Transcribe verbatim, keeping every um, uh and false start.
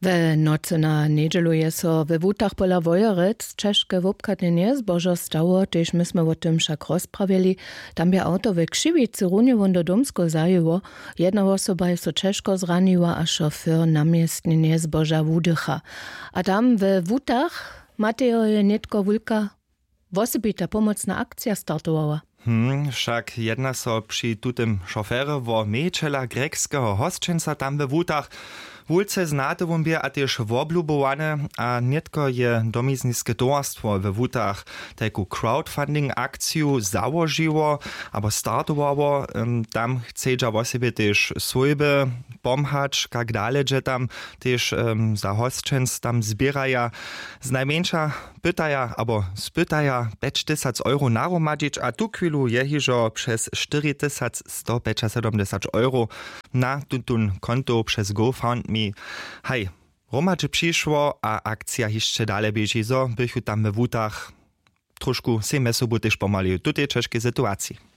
We nocy na njedźelu je so we wutach pola wojerec ćežke wobchadnjenje zbožo stało, tež my smy wo tym wšak rozprawjeli. Tam bě awto we křiwicy runje wón do domskeho zajěło. Jedna wosoba je so ćežko zraniła a šofyr namjestnjenje zboža wudycha. A tam we wutach matejo je nětko wulka wosebita pomocna akcija startowała. Hmm, wšak jedna so při tutym šofery wo mějićela grekskeho hosćenca tam we wutach. Wulce znate wón bě a tež woblubowany a nětko je domizniske towarstwo we wutach tajku crowdfunding akciju załožiło abo startowało. Tam chcedźa wosebje tež swójby pomhać kak dale dźe tam tež za hosćenc tam zběraja znajmjeńša pytaja abo spytaja pjećtysac euro nahromadźić a tuchwilu je hižo přez štyritysac stopjećasydomdźesać euro na tutón konto přez gofundme. Haj, hromadźe přišło a akcija hišće dale běži zo bychu tam we wutach trošku sej mjez sobu tež pomhali w tutej ćežkej situaciji.